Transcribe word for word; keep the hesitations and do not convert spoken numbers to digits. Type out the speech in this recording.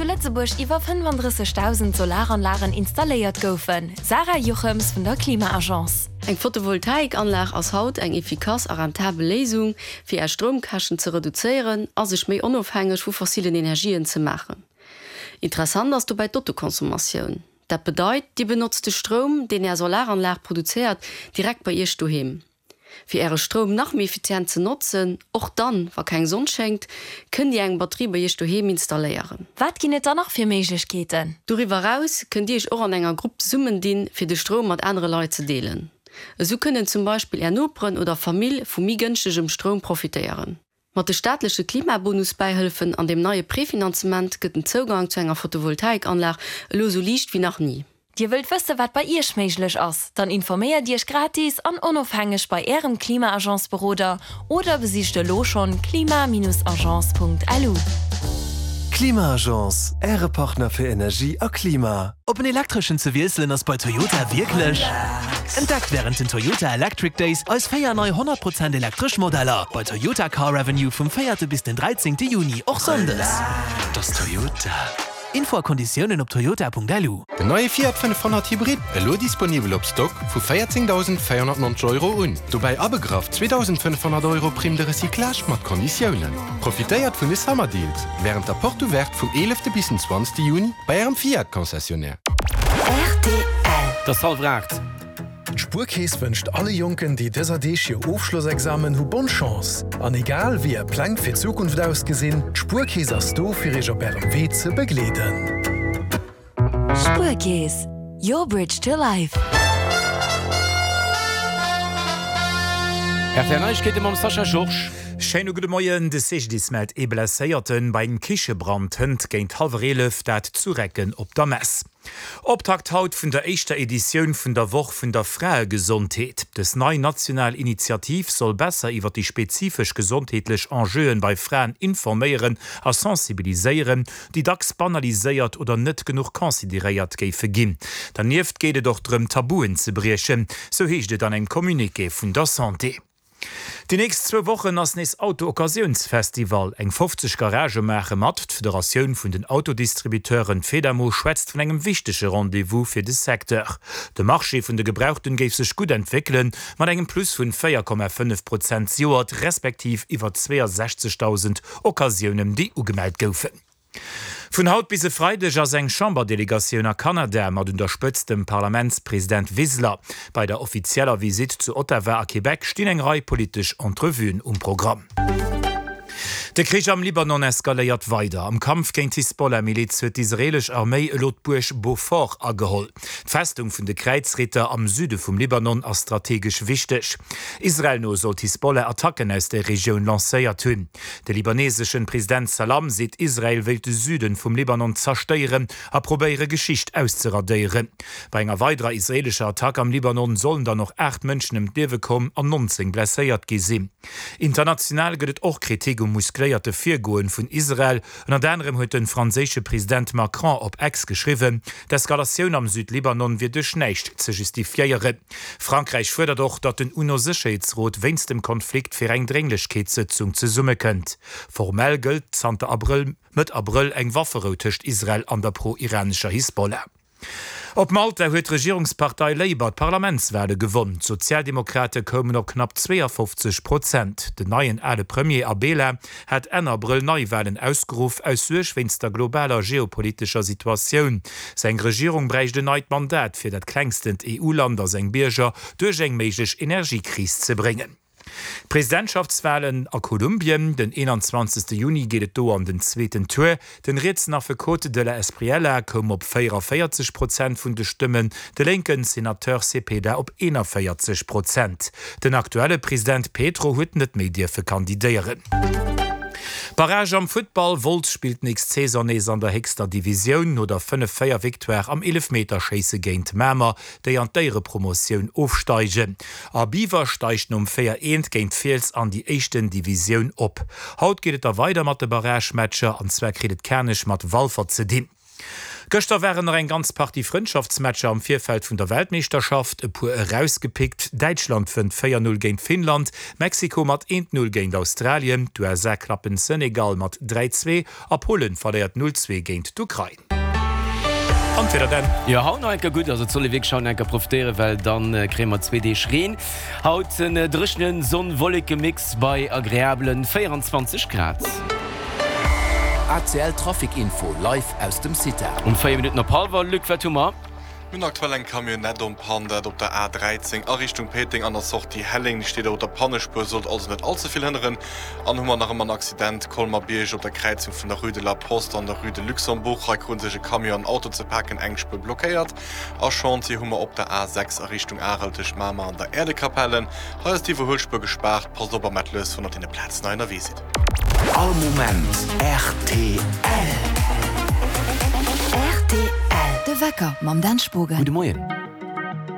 zu Lëtzebuerg iwwer fënnefandrëssegdausend Solaranlagen installéiert goufen. Sarah Jochems vun der Klima-Agence. Eng Photovoltaikanlag ass haut eng efficace a rentabel Léisung, fir Är Stroumkäschten ze reduzéieren a sech méi onofhängeg vu fossilen Energien ze maachen. Interessant ass dobäi d'Autoconsommatioun. Dat bedeit, Dir benotzt de Stroum, deen Är Solaranlag produzéiert, direkt bei Iech doheem. Fir Äre Stroum nach méi effizient ze notzen, och dann, wa keng Sonn schéngt, kënnt Dir eng Batterie bei Iech doheem installéieren. Wat ginn et dann nach fir Méiglechkeeten? Doriwwer eraus kënnt Dir Iech och an enger Grupp zesummendinn, fir de Stroum mat anere Leit ze deelen. Esou kënnen zum Beispill Är Noperen oder Famill vu méi gënschtegem Stroum profitéieren. Mat de staatleche Klimabonus-Bäihëllefen an dem neie Prefinanzement gëtt den Zougang zu enger Photovoltaikanlag elo esou liicht wéi nach ni. Dir wëllt wësse wat bei Iech méiglech ass? Dann informéiert Iech gratis an onofhängeg bei Ärem Klima-Agence-Beroder oder besicht elo schonn klima-agence.lu. Klima-Agence, Äre Partner fir Energie a Klima. Op en elektreschen ze wiesselen ass bei Toyota wierklech? Entdeckt wärend den Toyota Electric Days eis véier nei honnert Prozent elektresch Modeller bei Toyota Car Avenue vum véierte bis den dräizéngte Juni, och sonndes. Dat ass Toyota. Info a Konditiounen op toyota.lu. Den neie Fiat fënnefhonnert Hybrid, elo disponibel op Stock vu véierzéngdausendvéierhonnertnonzeg Euro un. Dobäi abegraff zweedausendfënnefhonnert Euro Prime de recyclage mat Konditiounen. Profitéiert vun de Summer Deals wärend der Porte Ouverte vum eelefte bis den zwanzegste Juni bei Ärem Fiat Concessionnaire. Rtl. Et ass hallwer aacht. D'Spuerkeess wënscht alle Jonken, déi dëser Deeg hir Ofschlossexamen hu bonne Chance. An egal wéi är Pläng fir d'Zukunft ausgesinn, d'Spuerkeess ass do fir iech op ärem Wee ze begleeden. Spuerkeess, your bridge to life. R T L Neiegkeete mam Sascha Georges. Schéine gudde Moien, De C G D I S mellt ee Blesséierten bei engem Kichebrand hënt géint hallwer eelef, dat zu Recken op der Mess. Optakt haut vun der éischter Editioun vun der Woch vun der Fraegesondheet. Dës nei national Initiativ soll besser iwwer déi spezifesch gesondheetlech Enjeuen bei Fraen informéieren a sensibiliséieren, déi dacks banaliséiert oder net genuch consideréiert géife ginn. Dernieft geet et och drëm, Tabuen ze briechen, sou heescht et an engem Communiqué vun der Santé. Déi nächst zwou Wochen ass nees Auto-Occasiounsfestival. Eng fofzeg Garagë maache mat. D'Federatioun vun den Autodistributeuren Fedamo schwätzt vun engem wichtege Rendez-vous fir de Secteur. De Marché vun de Gebrauchten géif sech gutt entwéckelen, mat engem Plus vun véier Komma fënnef Prozent zejoert, respektiv iwwer zweeasechzegdausend Occasiounen, déi ugemellt goufen. Vun haut bis e Freideg ass eng Chamberdelegatioun a Kanada mat un der Spëtzt dem Parlamentspresident Wiseler. Bei der offizieller Visitt zu Ottawa a Québec stinn eng Rei politesch Entrevuen um Programm. De Krich am Libanon eskaléiert weider. Am Kampf géint d'Hisbollah-Miliz huet d'israeelesch Arméi elo d'Buerg Beaufort ageholl. D'Festung vun de Kräizritter am Süde vum Libanon ass strategesch wichteg. Israel no soll d'Hisbollah Attacken aus der Regioun lancéiert hunn. De libaneseschen President Salam seet, Israel wéilt de Süden vum Libanon zerstéieren a probéiere Geschicht auszeradéieren. Bei enger weiderer israeelescher Attack am Libanon sollen dann och aacht Mënschen ëm d'Liewe komm an nonzéng blesséiert gi sinn. International gëtt et och Kritik um muscléierte Virgoen vun Israel. Ënnert anerem huet de franséische President Macron op X geschriwwen, d'Eskalatioun am Südlibanon wier duerch näischt ze justifiéieren. Frankräich fuerdert och, datt den UNO-Sécherheetsrot wéinst dem Konflikt fir eng Drénglechkeetssëtzung zesummekënnt. Formell gëllt zanter Abrëll, Mëtt Abrëll eng Wafferou tëscht Israel an der pro-iranescher Hisbollah. Op Malta huet d'Regierungspartei Labour d'Parlamentswale gewonn. D'Sozialdemokrate koumen op knapp zweeafofzeg Prozent. Den neien ale Premier Abela hat Enn Abrëll Neiwalen ausgeruff, aus Suerg wéinst der globaler geopolitescher Situatioun. Seng Regierung bräicht en neit Mandat, fir dat klengstent E U-Land a seng Bierger duerch eng méiglech Energiekris ze bréngen. Presidentschaftswalen a Kolumbien, Den eenanzwanzegste Juni geet et do an den zweeten Tour. Den rietsen Affekot de la Espriella koum op véieranvéierzeg Prozent vun de Stëmmen, de lénken Senateur Cepeda op eenanvéierzeg Prozent. Den aktuelle President Petro huet net méi dierfe kandidéieren. Barrage am Futtball, Wolz spillt nächst Saison nees an der héchster Divisioun no der fënnef véier Victoire am Eelefmeterschéisse géint Mamer, déi an d'Éierepromotioun ofsteigen. A Biwer steigt nom véier eent géint Fiels an déi éischten Divisioun op. Haut geet et da weider mat de Barragematcher, an zwar kritt et Kanech mat Walfer ze dinn. Gëschter waren nach eng ganz Partie Frëndschaftsmatcher am Virfeld vun der Weltmeeschterschaft, e puer erausgepickt, Däitschland wënnt véier Null géint Finnland, Mexiko mat eent Null géint Australien, d'USA klappen Senegal mat dräi Zwee a Polen verléiert null Zwee géint d'Ukrain. An d'Wieder Dan? Jo, haut nach eng Kéier gutt, also et soll ee wierklech haut nach eng Kéier profitéieren, well dann kréie mer zwee Deeg Reen. Haut en dréchenen Sonn-Wolleke-Mix bei agreabelen véieranzwanzeg Grad. A C L Trafic Info live aus dem CITA. Um véier Minutten op hallwer, Luc, wat hu mer? Mir hunn aktuell eng Camionnette en panne, dat op der A dräizéng a Richtung Péiteng an der Sortie Helleng. Déi steet och op der Pannespuer, sollt also net all ze vill hënneren. An hu mer nach ëmmer en Accident Colmer-Bierg op der Kräizung vun der Rue de la Poste an der Rue de Luxembourg. Hei krute sech e Camion an en Auto ze paken, eng Spuer blockéiert. A Chantier hu mer op der A sechs a Richtung Arel tëscht Mamer an der Äerdekapelle. Hei ass d'Iwwerhuelspuer gespaart. Passt op a maacht lues, wann der op deene Plazen hei ënnerwee sidd. All Moment rtl. Rtl, De Wecker mam Dan Spogen. Gudde Moien.